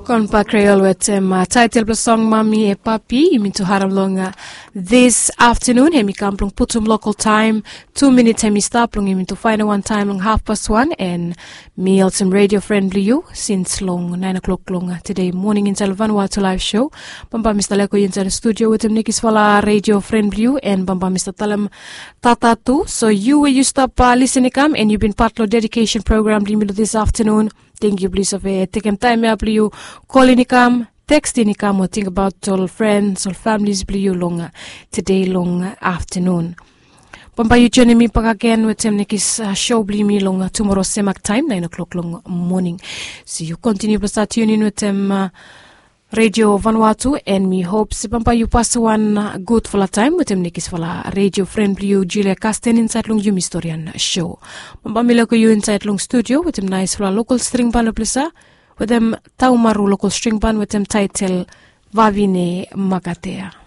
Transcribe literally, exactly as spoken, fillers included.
Konpa Kreol wetem taitel blong song Mami e Papi yumi tu harim long this afternoon. Hem i kam blong putum lokal taem. Tu minit hem i stap blong yumi tu faenem wan taem long hafpas wan, and mi olsem redio fren blong yu sins long naen o'klok long tede moning insaed long Vanuatu Laev Sho. Bambae mi stap leko yu insaed long studio wetem nekisfala redio fren blong yu, and bambae mi stap talem tata tu. So yu we yu stap lisin i kam and yu bin pat long dedikesen program blong yumi long this afternoon, tengkiu blong yu save tekem taem ya blong yu kolin i kam, tekstin i kam o tingbaot ol frens, ol familis blong yu long tede long aftanun. Bambae yu joenem mi bakegen wetem nekis sho blong yumi long tumora semak taem naen o'klok long moning. So yu kontiniu blong stap tiunin wetem redio Vanuatu, and mi hop se bambae yu pasem wan gudfala taem wetem nekisfala redio fren blong yu Julia Kasten insaed long yumi storian sho. Bambae mi leko yu insaed long studio wetem naesfala lokal string ban long ples ya, wetem Taumaru lokal string ban wetem taitel Vavine Makatea.